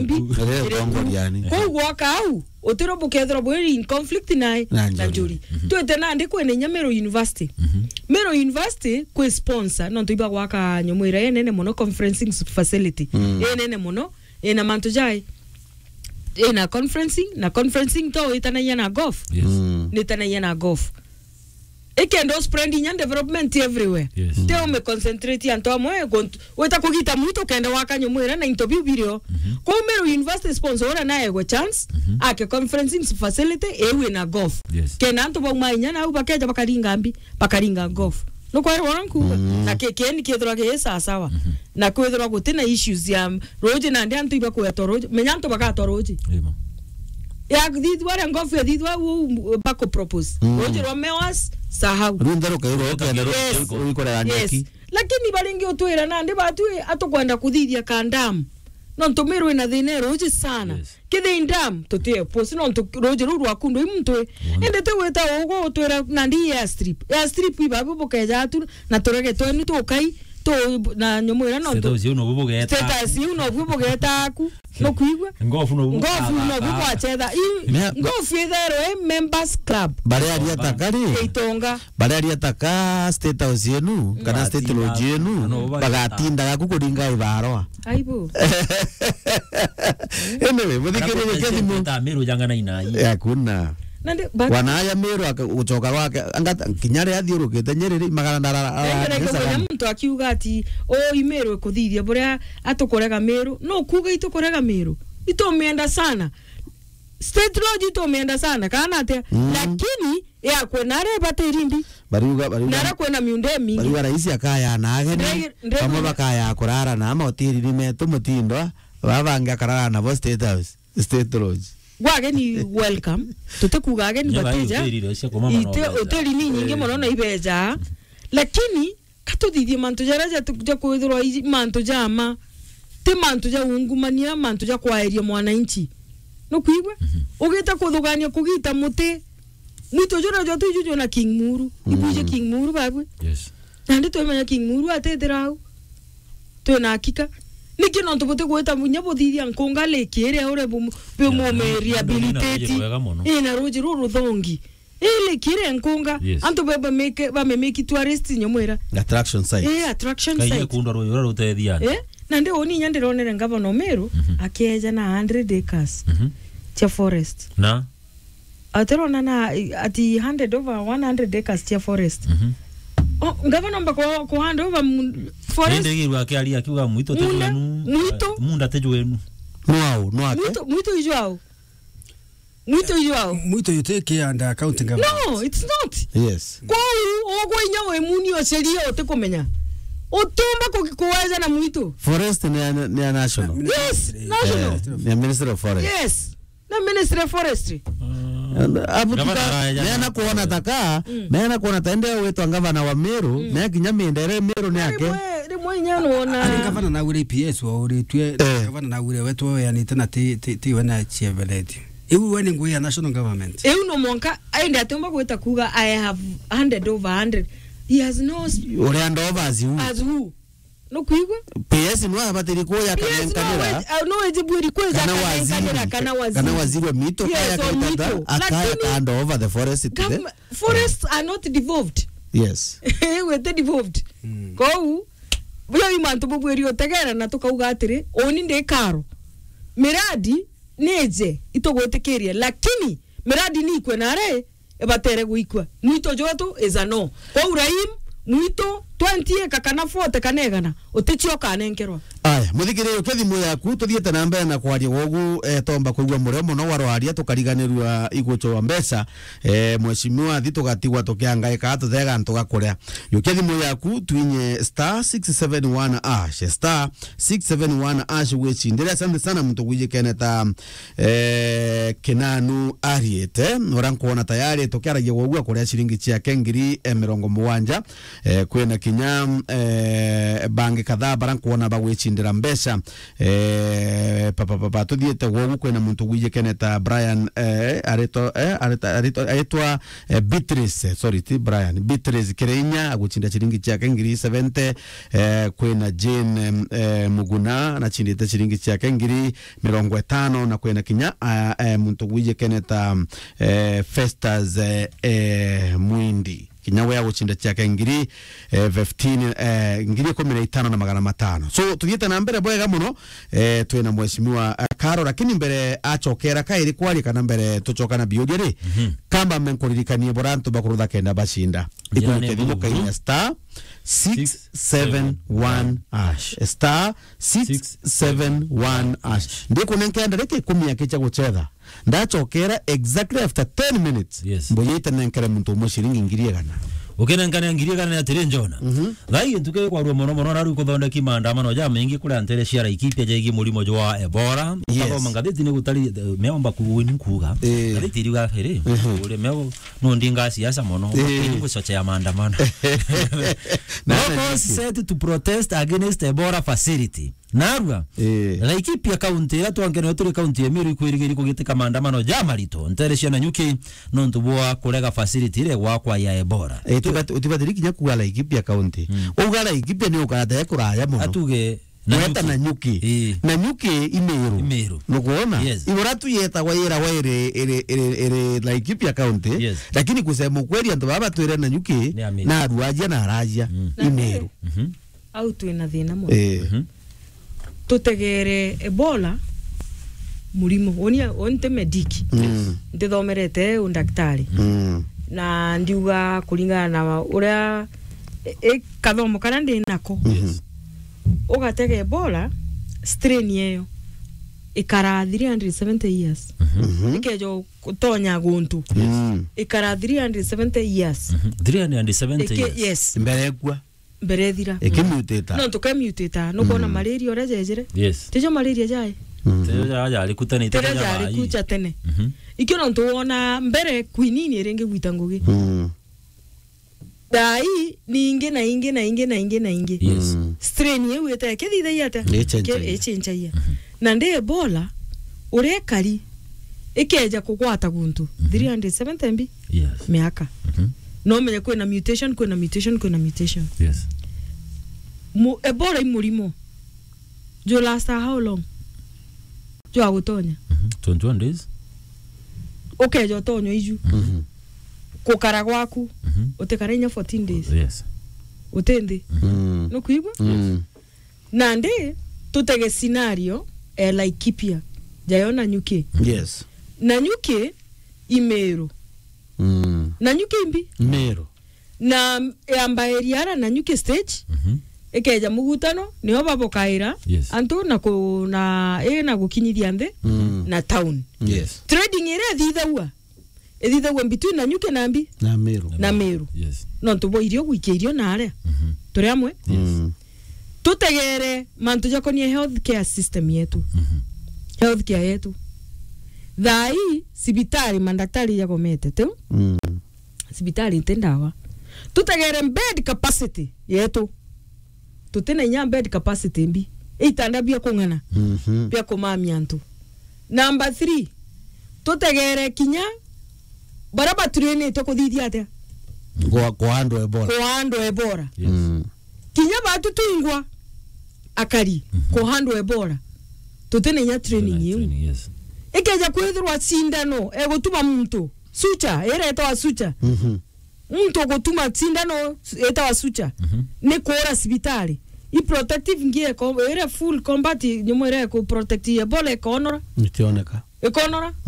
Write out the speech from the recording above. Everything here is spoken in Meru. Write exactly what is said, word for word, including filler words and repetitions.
mbi. Ere tongo riani. Kou gwaka au, utiro bukethirwa bwiri in conflict nae, na njuri. Twite nandi kwina inya Meru University. Meru University kwi sponsor, nontu iba gwaka nyomo iria inene mono, conferencing facility. Inene mono, ina mantu jai. Ina conferencing, na conferencing to itanagia na golf. Yes. Nitanagia na golf. Ikenda u spread inya development everywhere. Yes. Te ume concentrate antu amwe, gontu-, wita kugita muntu kenda waka nyomo iria na into biu birio. Kou Meru University sponsor ura naegwe chance, ake conferencing facility, iu ina golf. Yes. Kenda antu bauma inya nau bakeja bakaringa mbi, bakaringa golf. Nukwerwa ura nkuuga? Na ki-, kieni kiethirwa gi sawa sawa. Na kwethirwa guti na issues ya ruuji, nandi antu ibakwetwa ruuji. Menya antu bagatwa ruuji. Imo. Ya thithwa ria ngofu ya thithwa u bako propose. Ruuji rwa Mewas, sahau. Riu ntheruka igo ukenda ru-, Yes. ikorera Yes. nyeki. Lakini baringi utwira nandi batu atukwenda kuthithia ka dam. Nontu Meru ina thina ya ruuji sana. Yes. Kithii dam, tutie post, nontu ruuji ruu rwaku ndwi muntu. Indi ti gwita ugu utwira nandi airstrip. Airstrip ibabu bukeja tu na turege twenu tukai, tu na nyomo iria nontu. Status iu nobu bugeta. Status iu nobu bugeta aku. Nukwigua? Ngofu nobu Ngofu bugeta. Nobu bwachetha. Iu, Mea- ngofu itherwe i members club. Baria aria takari. Itonga. Baria aria taka State House yenu, kana State Lodge yenu, bagatindaga ku kuringa ibarwa. Aibu. Anyway, muthikiririe kethimo. Miru jangana inai. Hakuna. Nandi, but Wanaya Miru aka-, gucoka gwake, anga-, kinya ria athiurukite Nyeri ri, magana ndara-, Nende nenge mwenye muntu akiuga ati, "Oh, i Miru ikuthithia buria atukurega Miru." No kuuga itukurega Miru. Itumienda sana. State Lodge itumienda sana, kana atia? Lakini yakwe nare batiri mbi. Bariuga, bariuga, Nara kwena miunda imingi. Bariuga rais akaya na ageni, Ndege-, ndege- bamwe bakaya kurara na ama hoteli ni metu mutindwa, baba bangi akarara nabo State House, State Lodge. Gwa ageni welcome. Tutikuga ageni Nyo bai bateja. Hoteli iria cia kumama na Ite ubeja. Hoteli ni nyingi muno na ibeja. Lakini katuthithie mantu jaria ja, ja kwithirwa iji mantu ja ma. Ti mantu ja ungumania, mantu ja kwaeria mwananchi. Nukwigua? Ugita kuthugania kugita muti. Mwitu juria jwa tuju jwina King Muru. Ibwije King Muru babwe. Yes. Nandi twimenya King Muru atithira au. Twina hakika. Niki nontu buti gwita munya buthithia nkunga lake iria uria bu-, bu-, Yeah, mume nina, nina rehabilitate. Ruji rwega muno. Ina ruji ruru ruthongi. Ii lake iria nkunga. Yes. Antu be bameke, bamemeki tourist nyomwira. Attraction site. Eh, attraction Kaige site. Kunda ruji ruria rutethia antu. Eh, nandi uni inya ndironere ngavana Meru akieja na hundred acres cia forest. Na? Atirona na, ati handed over one hundred acres cia forest. Oh, ngavana omba ku, ku hand over mu-, forest. Indi giru akiaria akiuga mwitu ti Munda, jwenu. Mwitu. Munda ti jwenu. No au, no ake. Mwitu, mwitu ijwao. Mwitu ijwao. Mwitu yuti ki under county government. No, it's not. Yes. Kwou, ugwe inya wi muni ucerie utikumenya. Utumba ku-, kuweja na mwitu. Forest ni ya, ni ya national. Yes, national. Eh, ni ya Ministry of Forest. Yes. Na Ministry of Forestry. Abu Gavana tuka, araeja mena na kuona taka, mena kuona ta ende wetwa ngavana wa Meru, na kinya mindere Meru ni yake. Rimwe, rimwe inya nuona. Ari ngavana na ure P S wa uritwe, eh, ngavana na ure wetu weanite na ti, ti, ti we na chieveleti. Iu we ni ngui ya national government. Iu no mwanka, aende atumba gwita kuga, "I have handed over hundred." He has no s-, Uri hand over as who? As who? Nukwigua? P S no abatiri kuya P S no kanenkanira. We-, uh, no eje bwiri kweza kana kanenkanira waziri, kana waziri. Kana waziri wa mito, yes, kaya or kaitata, mito. Akaya lakini hand over the forest to the gov-, forests are not devolved. Yes. Wete devolved. Kou, buya i mantu bubwiri utegera na tukauga atiri, uni ndi karo. Miradi nije itugwitikirie, lakini miradi ni ikwe nare ibatere gwikua. Mwito jwetu is a no. Kwou Raim, mwito twenty acre kana forty kana igana, uticio ukanenkerwa. Aya, muthikiriria, ukia thimu yaku, tuthiite na mbere na kwaria gwogu, eh, tomba kwigua murio muno wa rwaria, tukariganirua igucho wa mbeca. Eh, mheshimiwa, thi tugatigwa tukiangaika, tuthega antu ga kuria. Yukia thimu yaku, twinye star six seven one hash, star six seven one hash, gwicindire. Asante sana muntu gwijikene ta eh, Kinanu ariite, uria nkwona tayari tukiaragia gwogu akuria ciringi ciake ngiri, eh, mirongo mugwanja. Eh, kwina kinya, eh, bangi kadhaa baria nkwona bagwicinda gucindira mbeca. Eh, papa, papa, tuthiite gwogu, kwina muntu wijikene ta Brian, eh, arito, eh, arita-, arito-, aritwa, eh, Beatrice, eh, sorry, ti Brian, Beatrice Kirinya agucinda ciringi ciake ngiri seventy, eh, kwina Jane, em, eh, Muguna, nacindite ciringi ciake ngiri mirongo itano, na kwina kinya, ah, eh, muntu wijikene ta, eh, Festus, eh, eh, Mwindi. Kinya we agucinda ciake ngiri, eh, fifteen, eh, ngiri ikumi na itano na magana matano. So, tuthiite na mbere bwega muno, eh, twina mheshimiwa, eh, Karo, lakini mbere acokera kairi kwaria kana mbere tucoka na biuria ri, mhm, kamba menkuririkanie bora antu bakurutha kenda bacinda. Njira ni ikunyuke thimu buru. Kainya star six seven one hash. Star six seven one hash. Ndikunenkenda riki ikumi akicha guchetha. Ndacokera exactly after ten minutes. Yes. Mbuyite nenkere muntu umwe ciringi ngiri igana. Ukinenkania ngiri igana ni atiri, Njona? Mhm. Thaa ii ntuku ikwarua mono mono, na riu kuthondeki maandamano jamaingi kuria ntere cia Laikipia jegie murimo jwa Ebola. Yes. Ukathoma ngathiti ni gutari, eh, meomba kuwini kuuga. Eh. Ngathiti iriuga atiri, mhm, uri meo no ndinga siasa mono. Eh. Ni gucochea maandamano. Na Locals set to protest against Ebola facility. Narua. Eh. Laikipia County, iria twankene turi county ya Meru, ikwirigiri kugitika maandamano ja marito ntere cia Nanyuki nontu bwa kurega facility iria gwakwa ya Ebola. Eh, utibati-, utibatiri kinya kuuga Laikipia County. Mm. Uga Laikipia ni ukarata kuraya mono. Atuge Nanyuki. Weta Nanyuki. Eh. Nanyuki i Meru. I Meru. Nukwona? Yes. Ibora tu yetagwa yira wa iri, iri, iri, iri Laikipia County. Yes. Lakini kusema ukweli, antu baba twire Nanyuki, ni a Meru, na aruajia na arajia. Mm. I Meru. Mhm. Au twina thina mono. Eh. Mhm. Tutegere Ebola murimo. Unia, unte medic. Mm. Ndithomerete undaktari. Mm. Na ndiuga kuringana na uria, i, i, kathomo karia ndi nako. Mhm. Yes. Ugatega Ebola, strain eyo ikara three hundred seventy years. Mhm. Mhm. Ikejo kutonya guntu. Mm. Ikara three hundred seventy years. Mhm. Three hundred seventy years. Yes. Mbere ekua. Mbere ethira. Ikimutita. No tukemutita, nukwona, mm, malaria uria jejire. Yes. Tijo malaria jai. Mhm. Tijo ja-, jari kutanite. Tijo jari kucha tene. Mhm. Ikio nontu wona mbere quinine iringi gwita ngugi. Mm. Thaa ii ni ingi na ingi na ingi na ingi na ingi. Yes. Mm. Strain iu ite ikithithagia atia? Ichenjagia. Ke-, ichenjagia. Mhm. Na ndi Ebola, uria ikari, ikeja kugwata guntu, mhm, three hundred seventy mbi? Yes. Miaka. Mhm. No menye kwina mutation, kwina mutation, kwina mutation. Yes. Mu-, Ebola i murimo. Ju last how long? Jwa gutonya. Mhm. Twenty-one days. Ukeja utonya iju. Mhm. Gukara gwaku, mhm, utikara inya fourteen days. Yes. Uti nthi. Mhm. Mm. Nukwigua? Mm. Nandi tutege scenario, eh, Laikipia. Jayo Nanyuki. Yes. Nanyuki i Meru. Mm. Nanyuki imbi? Meru. Na yamba area ara Nanyuki stage, mhm, ikeja mugutano, nio babokaira, yes, antu na ku-, na, i na gukinyithia nthi, mm, na town. Yes. Trading iria ithithagua, ithithagua between Nanyuki na mbi? Na Meru. Na Meru. Yes. Nontu bwa irio, gwikia irio na aria. Mhm. Turi amwe? Yes. Mm. Tutegere mantu jakonie healthcare system yetu. Mhm. Healthcare yetu. Thaa ii, cibitari, mandaktari jagomete, tiu? Mm. Cibitari nti ndawa. Tutegere bed capacity yetu. Tutina inya bed capacity mbi. Itanda bia kung'ana, mhm, bia kumamia antu. Number three, tutegere kinya baria batrainitwe kuthithia atia? Kwa, kwa andu Ebola. Kwa andu Ebola. Yes. Mm. Kinya batu twingwa akari, mhm, kwa andu Ebola. Tutina inya training iu. Training, yes. Ikeja kwithirwa cindano egutuma muntu, suture, iria itawa suture. Mhm. Muntu ugutuma cindano itawa suture, mhm, ni kuura cibitari. I protective gear ko-, iria full combat, nyumo iria iku protect Ebola ikonora. Itioneka. Ikonora.